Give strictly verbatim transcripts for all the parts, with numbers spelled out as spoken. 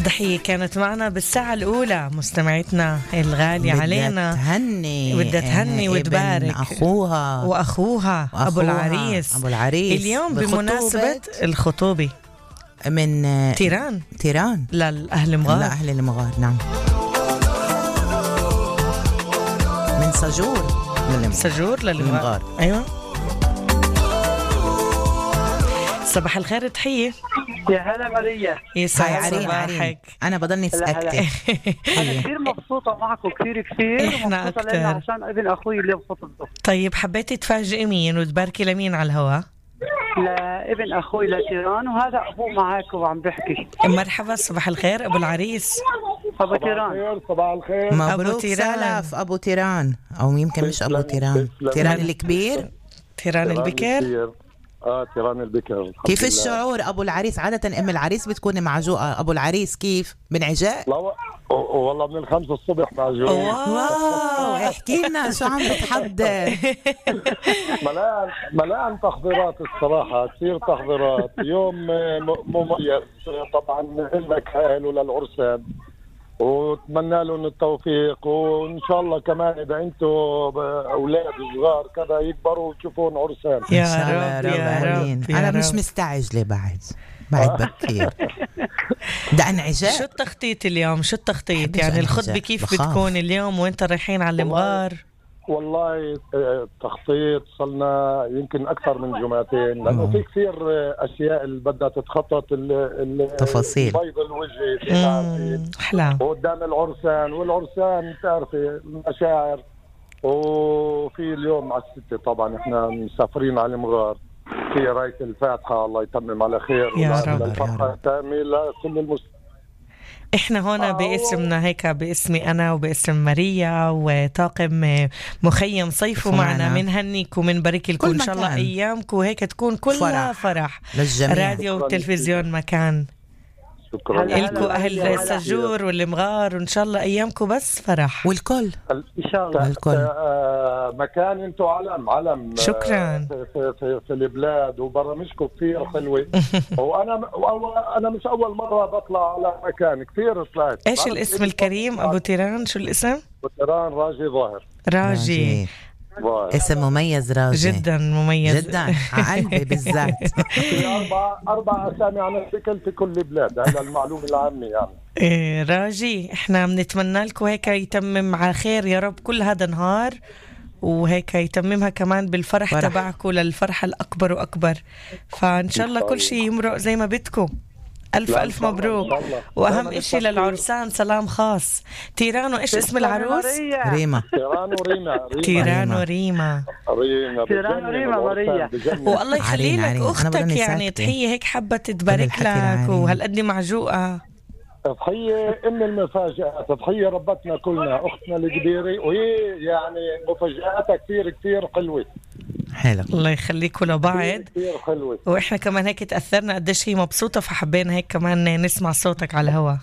ضحية كانت معنا بالساعة الأولى مستمعتنا الغالية علينا، تهني بدها تهني وتبارك أخوها وأخوها, وأخوها أبو العريس أبو العريس اليوم بمناسبة الخطوبة من تيران تيران للأهل مغار لأهل المغار. نعم، من سجور للمغار. سجور للمغار. أيوة. صباح الخير تحية. يا هلا ماريا. يسعد صباحك. أنا بضلني ساكتة. أنا كثير مبسوطة معكم كثير كثير. إحنا أكتر عشان ابن أخوي اللي بخطبته. طيب حبيتي تفاجئي مين وتباركي لمين على الهواء؟ لابن أخوي لتيران، وهذا أبوه معاك وعم بحكي. مرحبا، صباح الخير أبو العريس. أبو تيران. صباح الخير. مبروك سلف أبو تيران، أو يمكن مش أبو تيران، تيران الكبير. تيران البكر. اه تيران البكر. كيف الشعور أبو العريس؟ عادة أم العريس بتكون معجوقة، أبو العريس كيف؟ من عجاء؟ لا والله من الخمسة الصبح معجوقة. واو احكي لنا شو عم بتحضر. ملان ملان تحضيرات الصراحة، كثير تحضيرات. يوم مميز طبعا لك حاله للعرسان، واتمنى لهم التوفيق، وان شاء الله كمان اذا انتم اولاد صغار كذا يكبروا وتشوفون عرسان يا رب يا رب. انا مش مستعجله بعد بعد بكير. ده انعجاء. شو التخطيط اليوم؟ شو التخطيط يعني الخطبه كيف بخاف. بتكون اليوم وانت رايحين على المغار؟ والله التخطيط صلنا يمكن أكثر من جمعتين، لأنه في كثير أشياء اللي بدها تتخطط، تفاصيل بيض الوجه أحلام قدام العرسان، والعرسان تعرفي المشاعر. وفي اليوم على الستة طبعا إحنا مسافرين على المغار، في راية الفاتحة الله يتمم على خير يا رب. الفرحة التامة لكل المسلمين. احنا هنا باسمنا هيك، باسمي انا وباسم ماريا وطاقم مخيم صيفوا معنا، منهنيك ومنبارك لكم ان شاء الله ايامكم وهيك تكون كلها فرح, فرح. للجميع. راديو وتلفزيون مكان. شكرا لكم اهل السجور والمغار، وان شاء الله ايامكم بس فرح والكل ان شاء الله. الكل آه مكان انتم علم علم. شكرا. في, في, في, في البلاد، وبرامجكم كثير حلوه. وانا انا مش اول مره بطلع على مكان، كثير طلعت. ايش الاسم الكريم ابو تيران؟ شو الاسم؟ ابو تيران راجي ظاهر. راجي اسم مميز، راجي جدا مميز جدا على قلبي بالذات. في اربع اربع اسامي عن الشكل في كل البلاد، هذا المعلومه العامه يعني. إيه راجي، احنا بنتمنى لكم هيك يتمم على خير يا رب كل هذا نهار، وهيك يتممها كمان بالفرح فرح. تبعكم للفرحه الاكبر واكبر، فان شاء الله كل شيء يمرق زي ما بدكم. ألف ألف مبروك. وأهم إشي للعرسان سلام خاص. تيران، وإيش اسم العروس؟ ريما. تيران وريما. تيران وريما. تيران وريما ماريا. والله يخلي لك أختك يعني تحية هيك حابة تتبارك لك، وهالقد معجوقة. تضحية إن المفاجأة، تضحية ربتنا كلنا، أختنا الكبيرة، وهي يعني مفاجآتها كثير كثير حلوة. حلو. الله يخليكم لبعض. كثير حلوة. وإحنا كمان هيك تأثرنا قديش هي مبسوطة، فحبينا هيك كمان نسمع صوتك على الهوا.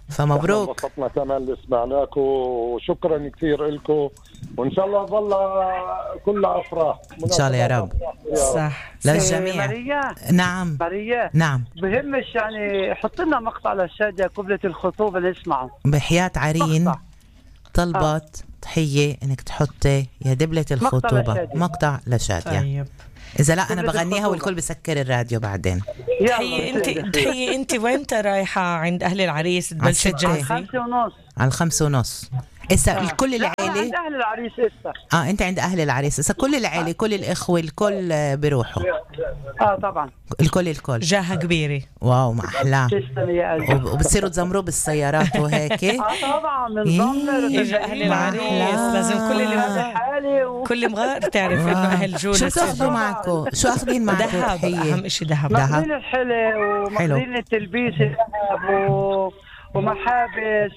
فمبروك. انبسطنا كمان اللي سمعناكم، وشكرا كثير لكم، وإن شاء الله ظل كلها أفراح إن شاء الله يا رب. صح للجميع. ماريا. نعم ماريا. نعم. بهمش يعني حط لنا مقطع للشادية قبلة الخطوبة نسمعه. بحياة عرين مقطع. طلبت تحية انك تحطي يا دبلة الخطوبة مقطع لشادية. طيب. إذا لا أنا بغنيها والكل بسكر الراديو بعدين. تحية أنت تحية أنت وأنت رايحة عند أهل العريس تبلش تجهزي؟ خمسة ونص. على الخمسة ونص. إسا آه. الكل العائلة عند أهل العريس إسا. آه أنت عند أهل العريس إسا كل العائلة كل الإخوة الكل بيروحوا. آه طبعا. الكل الكل. جاهة كبيرة. واو ما أحلاه. تسلم يا قلبي. وبتصيروا تزمروا بالسيارات وهيك. آه طبعا بنزمر. إجا أهل العريس لازم كل اللي مغار كل مغار تعرف إنه أهل جولة. شو تاخذوا معكم؟ شو أخذين معكم؟ ذهب. أهم إشي ذهب. مخزين الحلة ومخزين التلبيس الذهب و... ومحابس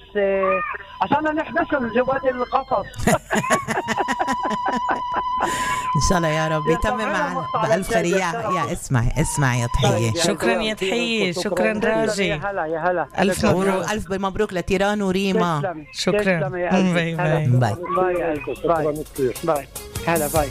عشان نحبسهم جوات القصص. إن شاء الله يا رب يتمم معنا بألف خير. يا اسمعي اسمعي يا تحية. شكرا يا تحية. شكرا راجي. يا هلا يا هلا. ألف مبروك. ألف مبروك لتيران وريما. شكرا. باي باي باي باي باي. هلا باي.